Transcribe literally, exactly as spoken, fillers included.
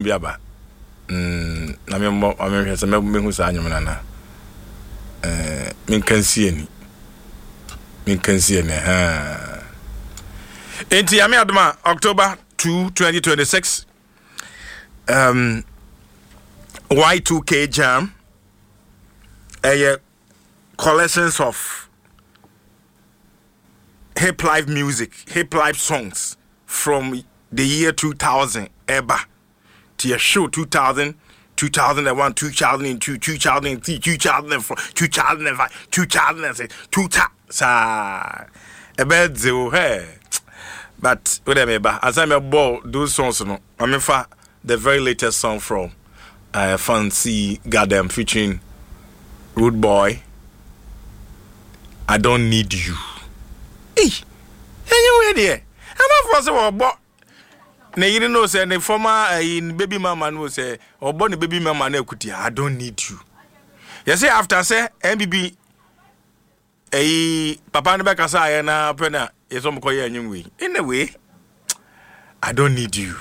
bi aba mm, na memmɔ ma menhwɛ sɛ mɛhu saa nnwom no anaa. Eh, menka nsi ani, menka nsi ani ha. Enti Nyame adom a, October two twenty twenty-six, um, Y two K Jam ɛyɛ collections of hip life music, hip life songs from the year two thousand ɛba. Nti yɛhyew two thousand, two thousand one, two thousand two, two thousand three, two thousand four, two thousand five, two thousand six, two thousand saa ɛbɛyɛ dze o hɛ. But wode meba ansa mɛbɔ those songs no, ma mefa the very latest song from uh, Fancy Gadam featuring Rude Boy, "I Don't Need You". Ei, ɛnyɛ wei deɛ ɛmafoɔ sɛ wɔbɔ ne yere no sɛ ne former uh, baby mama no, sɛ ɔbɔ ne baby mama no akuti. "I don't need you". Yɛsɛ after sɛ N P P ɛyi papa no bɛkasa ayɛ na pɛ na yɛsɛ ɔmkɔyɛ anwom wei. Anyway, "I Don't Need You".